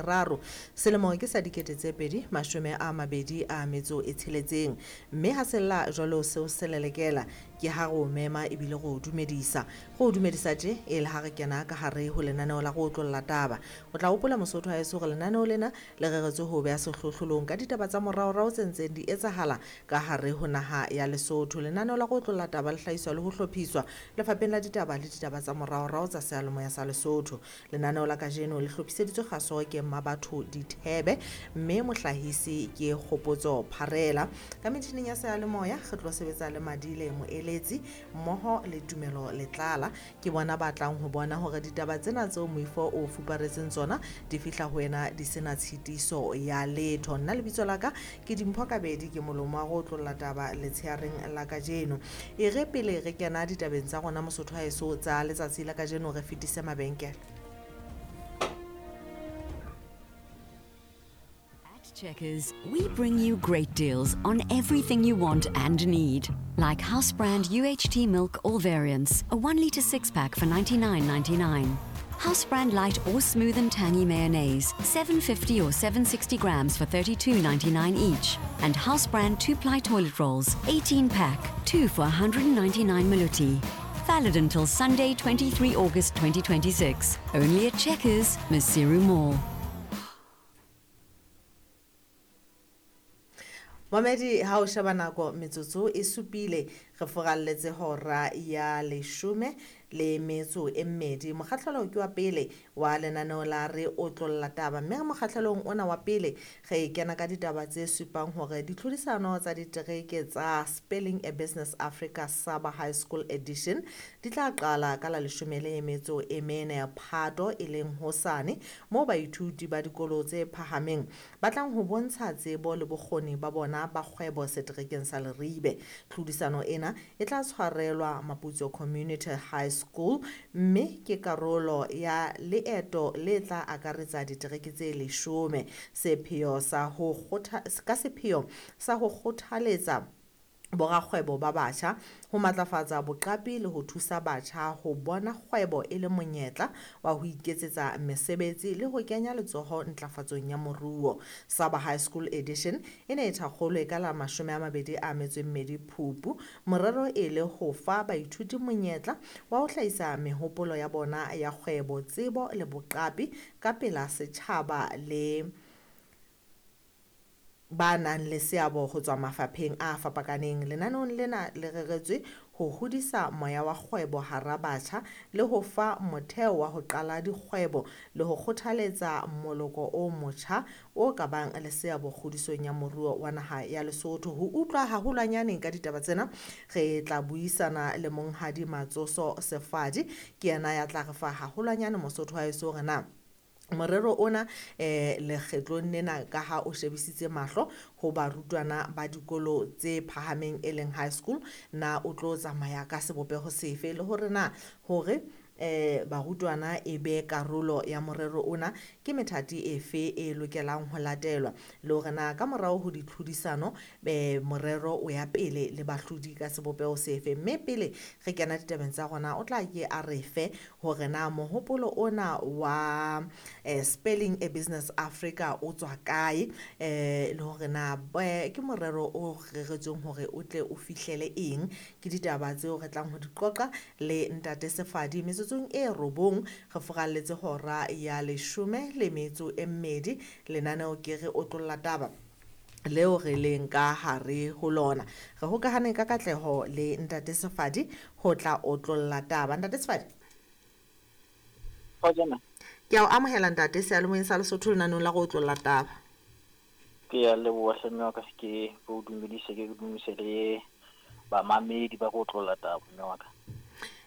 boraro selemo ke sa 2026. Mme ha sella jwalo seo se lelekela ke ha re o mema ebile re o dumedisa. Re o dumedisa tje e le ha re kena ka hare ho lenaneo la go otlolla taba. O tla hopola Mosotho haeso hore lenaneo lena le reretswe ho beha sehlohlolong ka ditaba tsa moraorao tse ntseng di etsahala ka hare ho naha ya Lesotho. Lenaneo la go otlolla taba le hlahiswa le ho hlophiswa lefapheng la ditaba le ditaba tsa moraorao tsa seyalemoya sa Lesotho. Lenaneo la kajeno le hlophiseditswe kgaso ke Mmabatho Dithebe, mme mohlahisi ke Kgopotso Pharela. Ka metjhining ya seyalemoya re tlo sebetsa le Madile Moeletsi mmoho le Tumelo Letlala. Ke bona ba tlang ho bona hore ditaba tsena tseo moifo o fuparetseng tsona di fihla ho wena di sena tshitiso ya letho. Nna lebitso la ka ke Dimpho Kabedi, ke molomo wa go otlolla taba letsheareng la kajeno. E re pele re kena ditabeng tsa rona Mosotho haeso tsa letsatsi la kajeno, re fetise mabenkele. At Checkers, we bring you great deals on everything you want and need. Like house brand UHT milk, all variants, a 1 litre 6-pack for $99.99. House brand light or smooth and tangy mayonnaise, 750 or 760 grams for $32.99 each. And house brand 2-ply toilet rolls, 18-pack, 2 for 199 maluti. Valid until Sunday, 23 August 2026. Only at Checkers, Maseru Mall. Mamedi, ha o sheba nako metsotso e supile re foralletse hora ya 12. Mokgahlelo ke wa pele wa lenaneo la re otlolla taba, mme mokgahlelong ona wa pele re kena ka ditaba tse supang hore ditlhodisano tsa ditereke tsa Spelling a Business Africa Saba High School Edition di tla qala ka la 14 Phato, e leng hosane, moo baithuti ba dikolo tse phahameng ba tlang ho bontsha tsebo le bokgoni ba bona ba kgwebo seterekeng sa Leribe. Tlhodisano ena e tla tshwarelwa Maputso Community High School, mme ke karolo ya leeto le tla akaretsa ditereke tse 10. Sepheo sa ho ka sepheo sa ho kgothaletsa borakgwebo ba batjha, ho matlafatsa boqapi le ho thusa batjha ho bona kgwebo e le monyetla wa ho iketsetsa mesebetsi le ho kenya letsoho ntlafatsong ya moruo. Saba High School Edition e ne e thakgolwe ka la 22 Phupu, morero e le ho fa baithuti monyetla wa ho hlahisa mehopolo ya bona ya kgwebo, tsebo le boqapi ka pela setjhaba le ba nang le seabo ho tswa mafapheng a fapakaneng. Lenaneong lena le reretswe ho hodisa moya wa kgwebo hara batjha le ho fa motheo wa ho qala dikgwebo le ho kgothaletsa moloko o motjha o ka bang le seabo kgodisong ya moruo wa naha ya Lesotho. Ho utlwa haholwanyane ka ditaba tsena re tla buisana le Monghadi Matsoso Sefadi, ke yena ya tla re fa haholwanyane Mosotho wa heso hore na morero ona lekgetlong lena ka ha o shebisitse mahlo ho barutwana ba dikolo tse phahameng e leng high school, na o tlo tsamaya ka sebopeho sefe, le hore na hore barutwana e be karolo ya morero ona ke methati efe e lokelang ho latelwa, le hore na ka morao ho ditlhodisano morero o ya pele le bahlodi ka sebopeho sefe. Mme pele re kena ditabeng tsa rona, o tla ke a re fe hore na mohopolo ona wa Spelling a Business Africa o tswa kae, le hore na ke morero o reretsweng hore o tle o fihlele eng. Ke ditaba tseo re tlang ho di qoqa le Ntate Sefadi metsotsong e 9 re foralletse hora ya 12. Lenaneo ke re otlolla taba leo re leng ka hare ho lona. Re hokahane ka katleho le Ntate Sefadi ho tla otlolla taba. Ntate Sefadi, ke a o amohela ntate seyalemoyeng sa Lesotho lenaneong la go otlolla taba. Ke a leboha hle mme wa ka, ke o dumedise, ke dumedise le bamamedi ba go otlolla taba mme wa ka.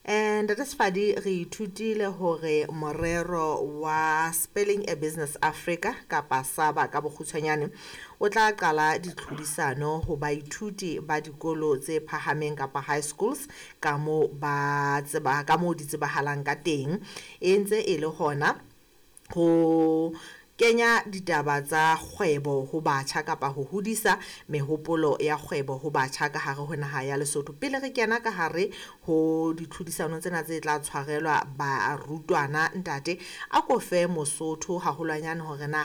Ntate Sefadi, re ithutile hore morero wa Spelling a Business Africa kapa SABA ka bokgutshwanyane o tla qala ditlhodisano ho baithuti ba dikolo tse phahameng kapa high schools ka moo ba tseba, ka moo di tsebahalang ka teng. E ntse e le hona ho kenya ditaba tsa kgwebo ho batjha kapa ho hodisa mehopolo ya kgwebo ho batjha ka hare ho naha ya Lesotho. Pele re kena ka hare ho ditlhodisano tsena tse tla tshwarelwa barutwana, ntate a ko fe Mosotho haholwanyane hore na